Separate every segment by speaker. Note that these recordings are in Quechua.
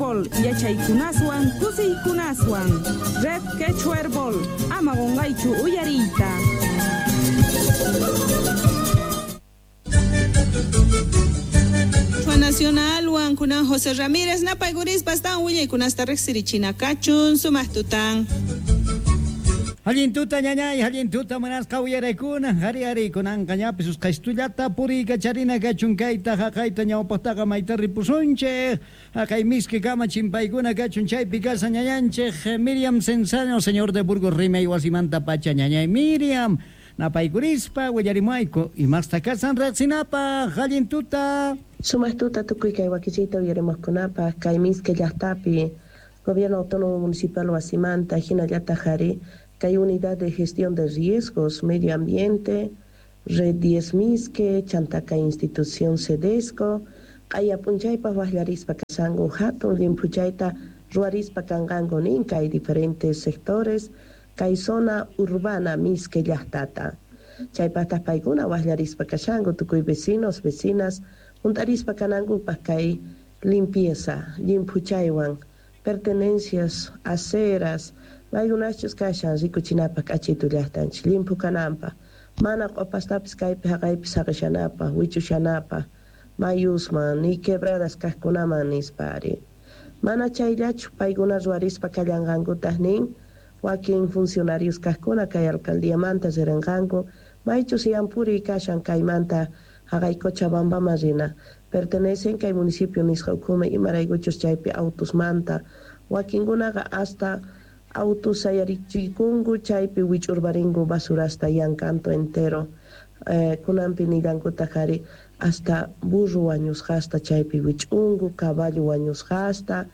Speaker 1: Herbol yachaykunaswan kusiykunaswan. Red Quechua Herbol ama qunqaychu uyariyta. Nacional kunan José Ramírez napaykurispa astawan willaykunasta riqsirichina kachun sumaq tutan.
Speaker 2: Allin tuta ñañay, allin tuta munasqa uyaraykuna, hari hari kunanqa ñapis usqhaystullata puriykacharina kachun kayta haqayta ñawpaqtaqa mayta ripusunchik, haqay miski kama chimpaykuna kachun chaypi kasa ñañanchik Miriam Cenzano, señor de Burgos rimay wasimanta pacha ñañay Miriam, napaykurispa willarimuayku imasta kasan riqsinapaq, allin tuta.
Speaker 3: Sumaq tuta tukuy kay wakichiyta uyarimuqkunapaq kay miski llaqtapi Gobierno Autónomo Municipal wasimanta hinallataq ari kay Unidad de Gestión de Riesgos, Medio Ambiente, Red 10 Misque, Chantaka Institución Cedesco, q'aya p'unchaypaq waqllarispa kasanku hatun llimphuchayta ruwarispa kanqanku nin kay diferentes sectores kay zona urbana Misque llaqtata. Chaypaqtaq paykuna waqllarispa kashanku tukuy vecinos, vecinas hunt'arispa kanankupaq kay limpieza, llimphuchaywan, pertenencias, aceras, maykunachus kashan rikuchinapaq k'achitu llaqtanchik llimphu kananpaq, mana q'upastapis kaypi haqaypi saqishanapaq, wichushanapaq, mayusman, ni quebradas kaqkunaman nispa ari. Mana chayllachu paykuna ruwarispa kallanqankutaq nin wakin funcionarios kaqkuna kay alcaldiamanta riranqanku maychus yampuriy kashan kaymanta haqay Cochabambaman rina pertenecen kay municipio nisqa ukhuman imaraykuchus chaypi autusmanta wakinkunaqa hasta autos sayarichikunku chaypi wich'urparinku basurasta yankanto entero kunanpi nillankutaq ari hasta burro wañusqasta chaypi wich'unku caballo wañusqasta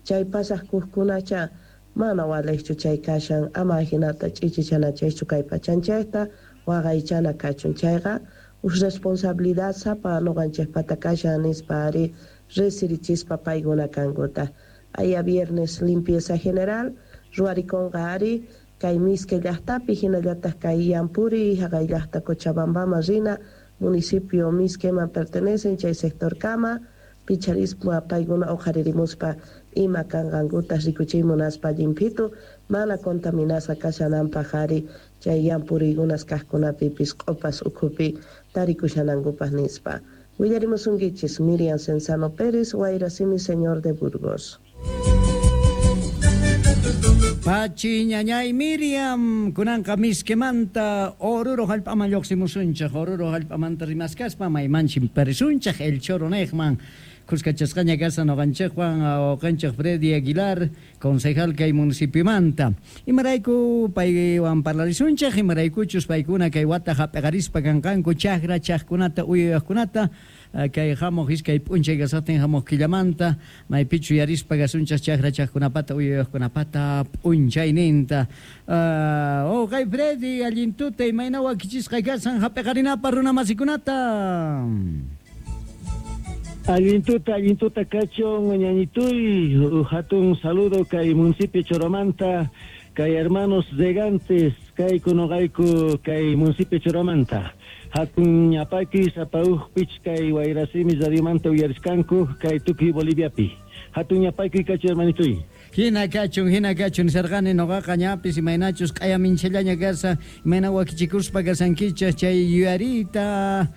Speaker 3: chay pasaq kuqkunacha mana waliqchu chay kashan ama hinata ch'ichichanachaychu kay pachanchikta waqaychana kachun chayqa uj responsabilidad sapa nuqanchikpata kashan nispa ari resirichispa paykuna kankuta. Aya viernes limpieza general ruwarikunqa ari kay Misque llaqtapi hinallataq kay Yampuri haqay llaqta Cochabambaman rina municipio Misqueman pertenecen chay sector kama picharispa paykuna uqharirimuspa ima kanqankuta rikuchiy munaspa llimphitu mana contaminasqa kashananpaq ari chay yampuriykunas kaqkunapipis q'upas ukhupi tarikushanankupaq nispa. Willarimusunkichis Miriam Cenzano Pérez, Wayrasimi, señor de Burgos.
Speaker 2: Pachi ñañay Miriam, kunanqa Misquemanta Oruro hallp'aman lluqsimusunchik, Oruro hallp'amanta rimaskaspa maymanchik parisunchik El Choro niqman. Kuskachasqaña kasa nuqanchikwan wawqinchik Freddy Aguilar, concejal kay municipiomanta. Imarayku paywan parlarisunchik, imaraykuchus paykuna kay wata hap'iqarispa kanqanku chakra chaqkunata uyuyaqkunata kay hamuq iskay p'unchay kasaqtin hamuq killamanta maypichu yarispa kasunchik chakra chaqkunapata uyuyaqkunapata p'unchayninta. Wawqay Freddy, allin tuta imayna wakichisqa kasan hap'iqarinapaq runa masikunata.
Speaker 4: Allin tuta kachun ñañituy, hatun saludo kay municipio Choromanta, kay hermanos regantes, kay kunuqayku kay municipio Choromanta. Hatun ñapaki sapauq kay Wayrasimi radiomanta uyariskanku kay tukuy Boliviapi. Hatun ñapaki kachu hermanituy.
Speaker 2: Hina kachun nisarqani nuqaqa ñapis imaynachus q'aya minchallaña kasa, imayna wakichikuspa kasankichik chay yuyariyta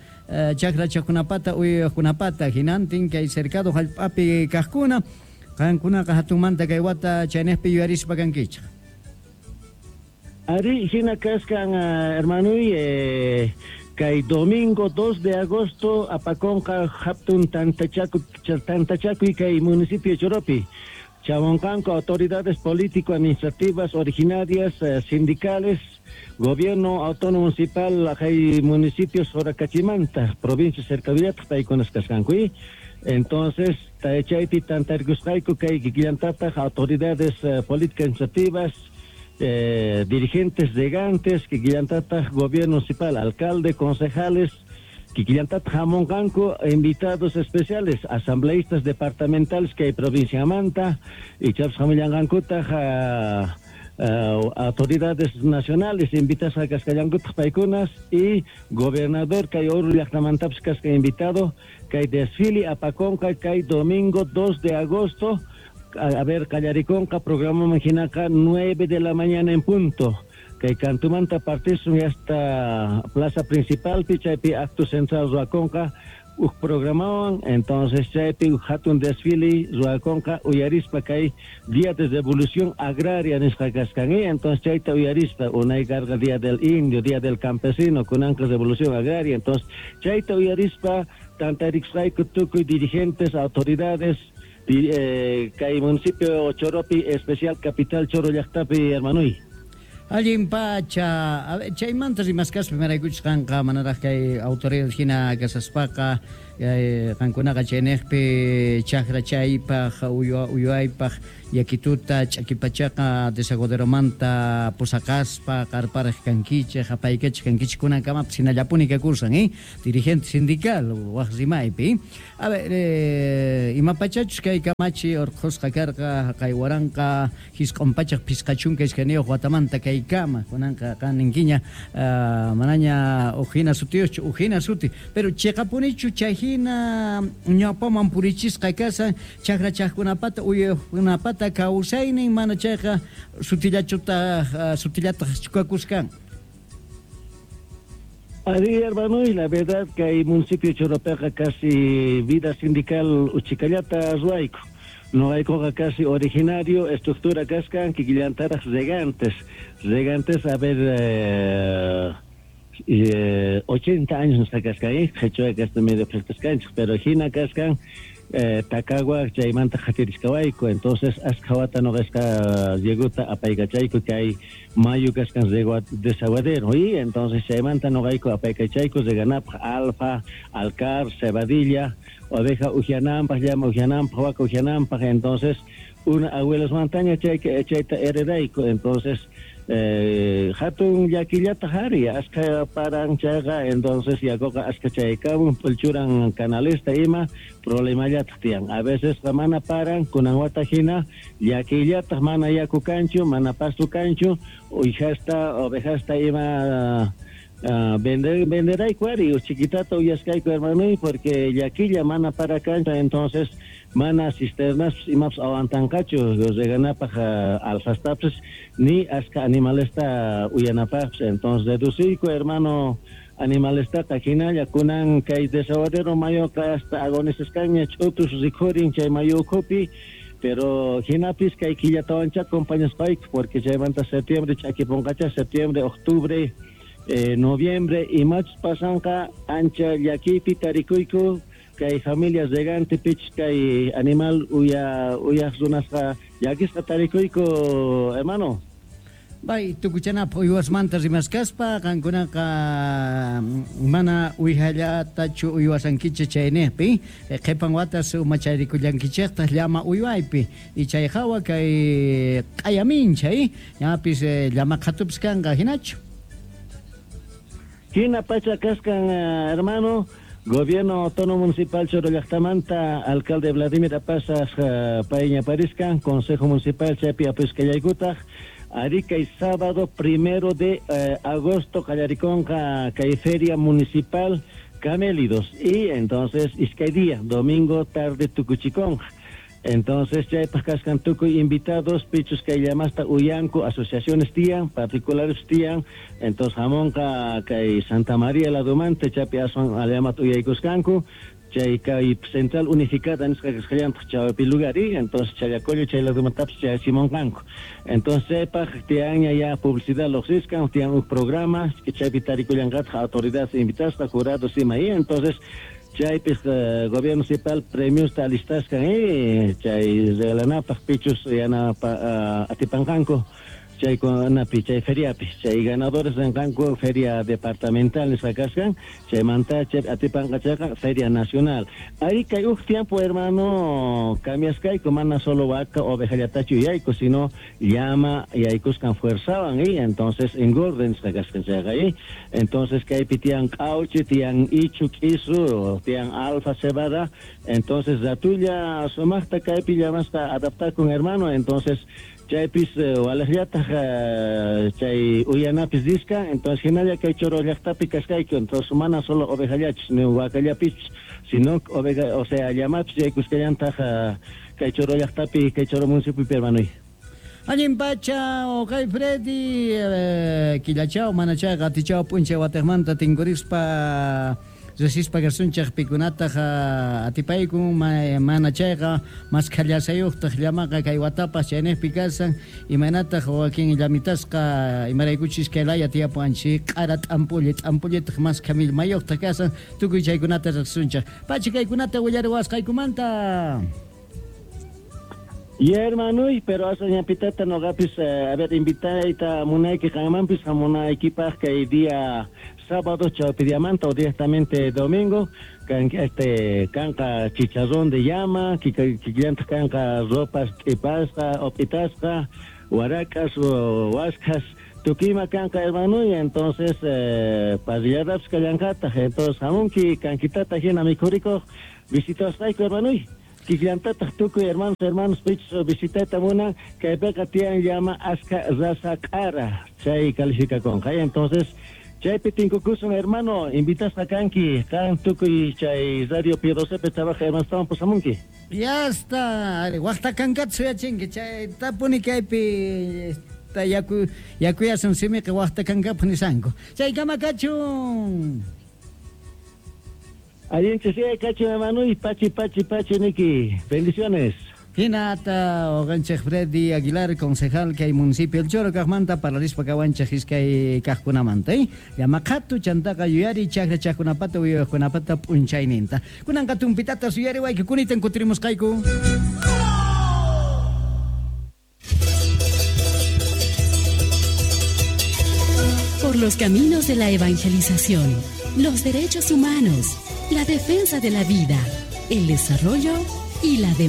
Speaker 2: chakra chaqkunapata uyuyaqkunapata hinantin kay cercado hallp'api kaqkuna qankunaqa hatunmanta kay wata chayniqpi yuyarispa kankichik.
Speaker 4: Ari hina kaskan hermanuy kay domingo 2 de agosto apakonqa hatun tantachakuy kay municipio Choropi. Chamoncanco, autoridades político-administrativas originarias, sindicales, gobierno autónomo municipal, hay municipios Soracachimanta, provincia Cercavillata, paykunas kasqanku. Entonces, chaypi tantarkusqayku kay kikillantataq autoridades políticas administrativas, dirigentes regantes, kikillantataq gobierno municipal, alcalde, concejales, kikillantataq hamunqanku invitados especiales, asambleístas departamentales que hay provincia Manta, y chaps hamullanqankutaq autoridades nacionales invitas a kasqallankutaq paykunas y gobernador kay Oruro llaqtamantapis kasqa invitado kay desfile apakonqa kay domingo 2 de agosto A ver, qallarikunqa programaman hinaqa 9 de la mañana en punto. Kay kantumanta partisun hasta plaza principalpi chaypi acto central ruwakunqa uj programawan, entonces chaypi uj hatun desfile ruwakunqa uyarispa kay Día de Revolución Agraria nisqa kaskan, entonces chayta uyarispa unay karqa Día del Indio, Día del Campesino, kunanqa Revolución Agraria, entonces chayta uyarispa tantarikusqayku tukuy dirigentes, autoridades kay municipio Choropi, especial capital Choro llaqtapi, hermanoy.
Speaker 2: Allin pacha, a ver, chaymanta rimaskaspa imaraykuchus qanqa manaraq kay autoridad hina kasaspaqa qankunaqa chayniqpi chakra chaypaq uywaypaq yakituta ch'akipachaqa desaguaderomanta pusaqaspa qarpariq kankichik, apaykachik kankichik, kunankamapas hinallapuni kakusan, dirigente sindical waq rimaypi. A ver, imapachachus kay kamachi urqhusqa karqa haqay 1952 watamanta kaykama, kunanqa qan ninkiña manaña uj hina sutiyuqchu, uj hina suti, pero chiqapunichu chay hina ñawpaman purichisqa kashan chakrachaqkunapata uywaqkunapata kawsaynin, mana chayqa sutillachutaq sutillataq chukakuskan?
Speaker 4: Ari, hermano, y la verdad que hay municipio Choropeqa casi vida sindical uchikallata ruwayku. Noqaykuqa casi originario estructura kaskan kikillantaraq regantes. Regantes, a ver, 80 años nisqa kaskan, qhichwa kasta medio practicaskanchik, pero hina kaskan Tacagua chaymanta qhatiriskawayku, entonces askha wata noqasqa rieguta apaykachayku kay mayu kaskan desaguadero, y entonces chaymanta noqayku apaykachayku reganapaq alfa, alcar, cebadilla, oveja ujiananpaq, llama ujiananpaq, waka ujiananpaq, entonces una abuelos montaña chayta heredayku, entonces hatun llakillata hari askha paran chayqa, entonces yakuqa askha chaykamun p'ulchuran canalesta ima problemallataq tiyan. A veces mana paran kunan wata hina llakillataq mana yaku kanchu, mana pasto kanchu, uyhasta ovejasta ima venderayku ari chiquitata uyaskayku, hermano, porque llakilla mana para kanchu, entonces mana cisternas imapas aguantanqachu reganapaq alfastapis ni aska animalesta uyanapaqpis, entonces reduciyku, hermano, animalestaqa hinalla. Kunan kay desaguadero mayuqa hasta agonizaskanña, ch'utus rikhurin chay mayu ukhupi, pero hinapis kay killatawancha acompañaspayku, porque chaymanta septiembre ch'akipunqacha, septiembre, octubre, noviembre, imachus pasanqa ancha llakiypi tarikuyku kay familias regante pich kay animal uya uyaq runasqa llakisqa tarikuyku, hermano.
Speaker 2: Bay, tukuchanapaq uywasmanta rimaskaspa qankunaqa mana uywallatachu uywasankichik chayniqpi, qhipan watas umacharikullankichiktaq llama uywaypi y chay hawa kay q'ayamincha, ñapis llama qhatupis kanqa, hinachu?
Speaker 4: Hina pacha kaskan, hermano. Gobierno Autónomo Municipal Choro llaqtamanta alcalde Vladimir Apasas payña pariskan, Consejo Municipal chaypi apuskallaykutaq ari kay sábado 1 de agosto qallarikunqa kay feria municipal Camélidos y entonces iskay día, domingo tarde tukuchikunqa. Entonces chaypaq kaskan tukuy invitados pichus kay llamasta uyanku, asociaciones tiyan, particulares tiyan, entonces hamunqa kay Santa María ladumanta chaypi aswan llamat uyaykuskanku chay kay central unificada nisqa kasqallantaq chawpi lugar, y entonces Challacollo chay ladumantapis chayachimunqanku. Entonces chaypaq tiyanña ya publicidad lluqsiskan, tiyan huk programa chaypi tarikullanqataq autoridades invitasqa, jurados ima, y entonces chaypis gobierno municipal premiosta alistaskan chay regalanapaq pichus yanapa atipanqanku chaykunapi chay feriapi, chay ganadores rinqanku feria departamental nisqa kaskan, chaymanta chay atipanqa chayqa feria nacional. Ari kay huk tiempo, hermano, cambiaskayku, mana solo vaca ovejallatachu yayku, sino llama yaykuskan fuerzawan, y entonces engorden nisqa kaskan chayqa, y entonces kaypi tiyan q'awchi, tiyan ichu k'isu, tiyan alfa cebada, entonces ratulla sumaqta kaypi llamasqa adaptakun, hermano, entonces chaypis walaqllataq chay uyanapis riskan, entonces hinalla kay Choro llaqtapi kaskayku, entonces mana solo ovejallachus ni vacallapis. Sino oveja, o sea, llamapis yaykusqallantaq kay Choro llaqtapi, kay Choro municipiopi, hermanoy.
Speaker 2: Allin pacha, okay Freddy, killachao, manachayqa atichao p'unchay watiqmanta tinkurispa riqsispa kasunchik pikunataq atipaykun mana chayqa maskhallasayuqtaq llamaqa kay watapas chayniqpi kasan imaynataq wakin llamitasqa imaraykuchis kay laya tiyapuwanchik q'ara t'ampulli t'ampullitaq maskha millmayuqtaq kasan tukuy chaykunata riqsisunchik. Pacha kaykunata willariwasqaykumanta.
Speaker 4: Ya, hermanoy, pero asa ñapitata noqapis, a ver, invitayta munayki qanmanpis hamunaykipaq kay día sábado chawpi diamanta o directamente domingo kan este kanqa chicharrón de llama, kikillantaq kanqa ropas t'ipasqa o p'itasqa, warakas o waskhas, tukuyma kanqa, hermanoy, entonces parrilladapis kallanqataq, entonces hamunki kankitata hina mikhurikuq visitasqayku, hermanoy. Kikillantataq tukuy hermanos, hermanos pichus visitayta munan, kaypiqa tiyan llama aska raza q'ara, chay calificakunqa. Entonces chaypi tinkukusun, hermano, invitasqa kanki, qan tukuy chay Radio P12 trabaja hermanostawan pusamunki.
Speaker 2: Ya está, waqta kankata suyachinki, chay tapuni kaypi ta yaku yakuyasun simiqa waqta kankapaq nisanku. Chaykama kachun.
Speaker 4: Allinchis kachun, hermano, y pachi, pachi, pachi, niki. Bendiciones.
Speaker 2: Hinata uqanchik Freddy Aguilar, concejal kay municipio El Choro kaqmanta parlarispa kawanchik iskay kaqkunamanta, Llama qhatu chantaqa yuyari chakra chaqkunapata uyaykunapata p'unchayninta. Kunanqa tumpitata suyariwayku kunitan kutirimusqayku.
Speaker 5: Por los caminos de la evangelización, los derechos humanos, la defensa de la vida, el desarrollo y la democracia.